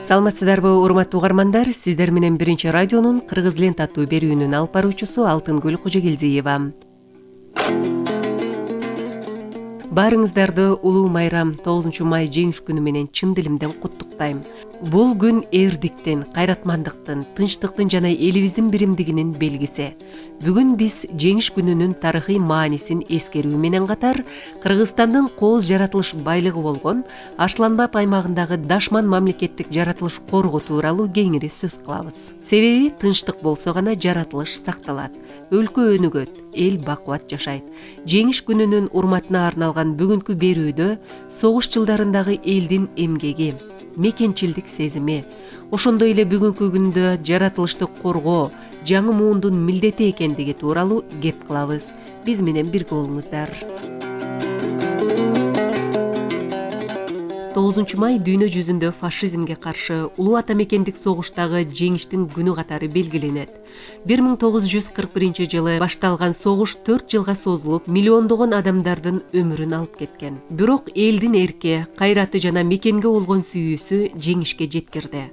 Саламатсыздарбы урматтуу угармандар, сиздер менен Биринчи радионун Кыргыз лента аттуу берүүнүн алып баруучусу Алтынгүл Кожогелдиева. Баарыңыздарды улуу майрам 9 май жеңиш күнү менен чын дилимден куттуктайм. Бул күн эрдиктин, кайратмандыктын, тынчтыктын жана элибиздин биримдигинин белгиси. Бүгүн биз жеңиш күнүнүн тарыхый маанисин эскерүү менен катар, Кыргызстандын кооз жаратылыш байлыгы болгон Ашланбап аймагындагы Дашман мамлекеттик жаратылыш коргоо тууралуу кеңири сөз кылабыз. Себеби тынчтык болсо гана жаратылыш сакталат, өлкө өнүгөт, эл бакубат жашайт. Жеңиш күнүнүн урматына арналган бүгүнкү берүүдө согуш жылдарындагы элдин эмгеги, мекенчилдик сезими, ошондой эле бүгүнкү күндө жаратылышты коргоо жаңы муундун милдети экендиги тууралуу кеп кылабыз. Биз менен бирге болуңуздар. 9 май дүйнө жүзүндө фашизмге каршы улуу ата мекендик согуштагы жеңиштин күнү катары белгиленет. 1941 жылы башталган согуш 4 жылга созулуп, миллиондогон адамдардын өмүрүн алып кеткен. Бирок элдин эрки, кайраты жана мекенге болгон сүйүүсү жеңишке жеткирди.